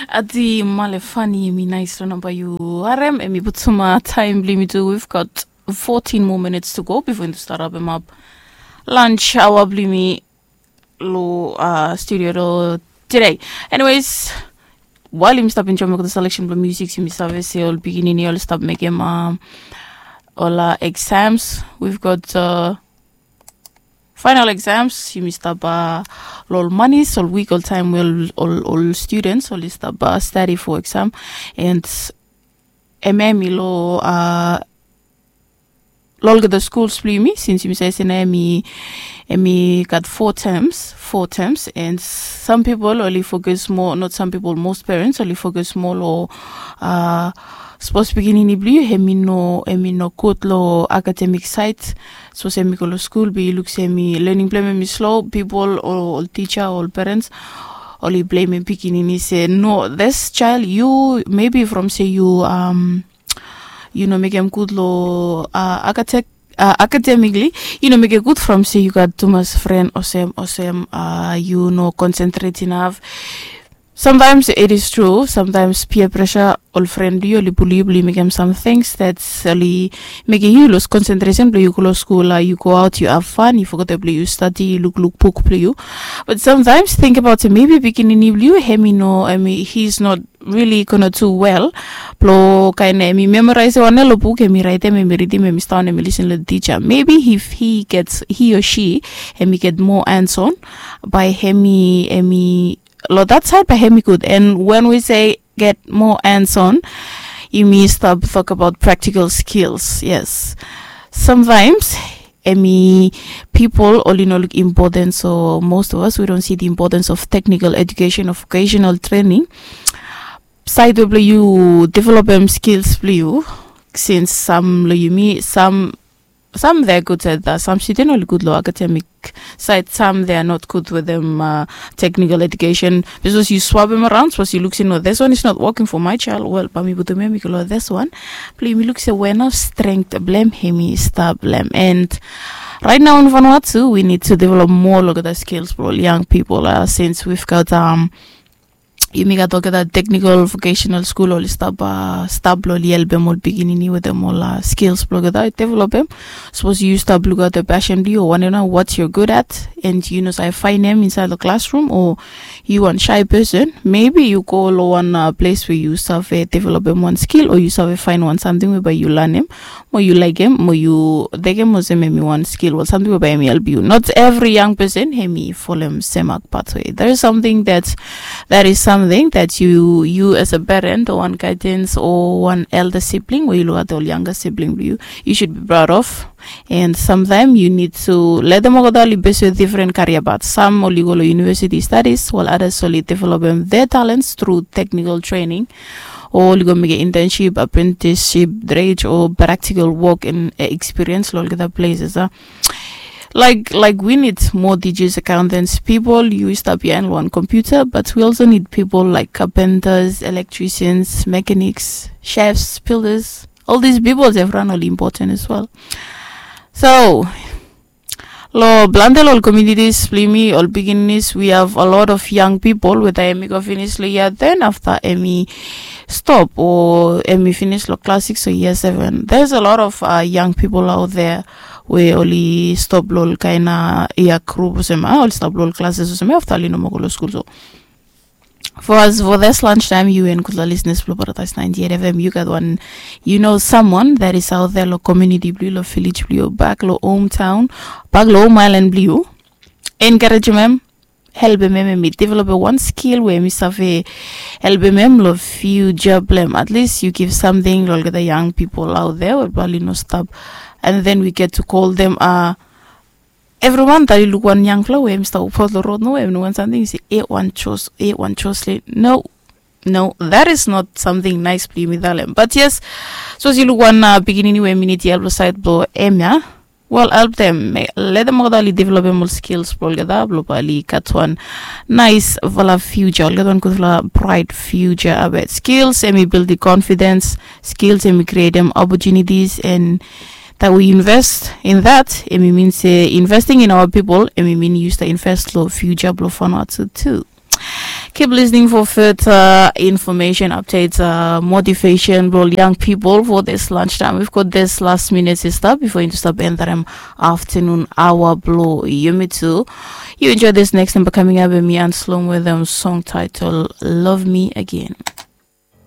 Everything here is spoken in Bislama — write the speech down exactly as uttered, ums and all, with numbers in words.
Adi Malefani, mi nais lo namba yu harem, emi butuma taem blo yumi tu. We've got fourteen more minutes to go before yumi start wrap em up lunch hour blo yumi lo uh, studio do today. Anyways, while yumi stap enjoy the selection blo music, yumi save se ol pikinini ol stap mekem um, ol uh, exams. We've got uh, final exams. Yumi stap uh, lo ol manis, ol week, ol taem we ol, ol, ol students oli stap uh, study for exam. And hemia hemi lo uh, lo olgeta schools blo yumi, since yumi save se nao hemi hemi gat four terms, four terms. And some people oli focus more, not some people, most parents oli focus more lo uh, sapos pikinini blo yu hemi no, hemi no gud lo academic side, sapos hemi go lo skul be yu luk se hemi learning blo hem hemi slow, people o ol teacher o ol parents oli blamem pikinini se no, this child, yu maybe from se yu um, yu no mekem gud lo uh, academic uh, academically, yu no mekem gud from se yu gat tumas fren olsem olsem, uh, yu no concentrate enough. Sometimes it is true, sometimes peer pressure, ol fren blo yu oli pul yu blo yu mekem some things that oli mekem yu lus concentration blo yu go lo skul, uh, yu go out, yu have fun, yu fogetem blo yu stadi, yu lukluk buk blo yu. But sometimes think about it, maybe pikinini blo yu hemi no, hemi, he's not really gonna do well blo kaen hemi memorize wan lo buk, hemi raetem, hemi ridim, hemi stap, hemi listen lo teacher. Maybe if he gets, he or she, hemi get more hands on, bae hemi, hemi lo that side bae hemi gud. And when we say get more hands on, yumi stap tok abaot practical skills. Yes, sometimes hemi, people oli no luk importance, so most of us, we don't see the importance of technical education or vocational training. Saed we blo yu developem skills blo yu, since sam lo yumi, sam sam they're good at that, sam student oli gud lo academic side, sam they are not good with them uh, technical education. Because yu swapem around, sapos yu luk se no, this one is not working for my child, well, bae mi putum hemi go lo this one. Blo yumi luk se we nao strength blo hem hemi stap lo hem. And right now in Vanuatu we need to develop more olgeta skills blo ol young people, uh, since we've got um, yumi gat olgeta technical vocational school oli stap, uh, stap blo oli helpem ol pikinini wetem ol uh, skills blo olgeta developem. Sapos yu stap lukaot the passion blo yu o wanem nao what you're good at, and yu no save faenem insaed lo classroom, o yu wan shy person, maybe yu go lo wan uh, ples we yu save developem wan skill, o yu save faen wan samting we bae yu lanem, mo yu laekem, mo yu tekem olsem hemi wan skill, wan samting we bae hemi helpem yu. Not every young person hemi folem semak pathway. There is something that, that is something that you, you as a parent o wan guidance o wan elder sibling we yu lukaot ol younger sibling blo yu, you should be proud of. And sometimes you need to let them go dali based with different career paths. Some oli go lo university studies, while others oli developem their talents through technical training, o oli go mekem internship, apprenticeship, trade, o practical work and uh, experience lo olgeta places. Uh. Like, like we need more teachers, accountants, people yu stap behind one computer, but we also need people like carpenters, electricians, mechanics, chefs, builders. All these people, everyone are important as well. So, lo plante lo ol communities blo yumi, ol pigininis, we have a lot of young people we taem hemi go finis lo year ten, afta hemi stop, o hemi finis lo class six o year seven. There's a lot of uh, young people out there we oli stop lo ol kaen a year group olsem ia, oli stop lo ol classes olsem ia, afta oli no moa go lo skul. So for us, for this lunch time, yu and gutpela listeners blo Paradise ninety-eight F M, yu gat wan, you know someone that is out there lo community blo yu, lo village blo yu, back lo hometown, back lo home island blo yu. Encouragem hem, helpem hem, hemi developem wan skill we hemi save helpem hem lo future blo hem. At least you give something lo olgeta young people out there we bae oli no stap. And then we get to call them uh, everyone that oli luk wan yangfala we hemi stap wokbaot lo rod nomo, hemi no wan samting, yu se, e wan Jos, e wan Joslin. No, no, that is not something nice blo yumi talem. But yes, sapos yu luk wan uh, pikinini we hemi nid help lo saed blo hem ia, well, help them, letem olgeta oli developem ol skills blo olgeta blo bae oli gat wan naesfala future, oli gat wan gudfala bright future. Abaot skills hemi buildim confidence, skills hemi createm opportunities, and that we invest in that, hemi min se investing in our people, hemi min yu stap invest lo future blo Vanuatu tu. Keep listening for further information updates, uh, motivation blong young people for this lunch time. We've got this last minute sister before you stop entering afternoon hour blong you me too. You enjoy this next number coming up with me and slong with them song title Love Me Again.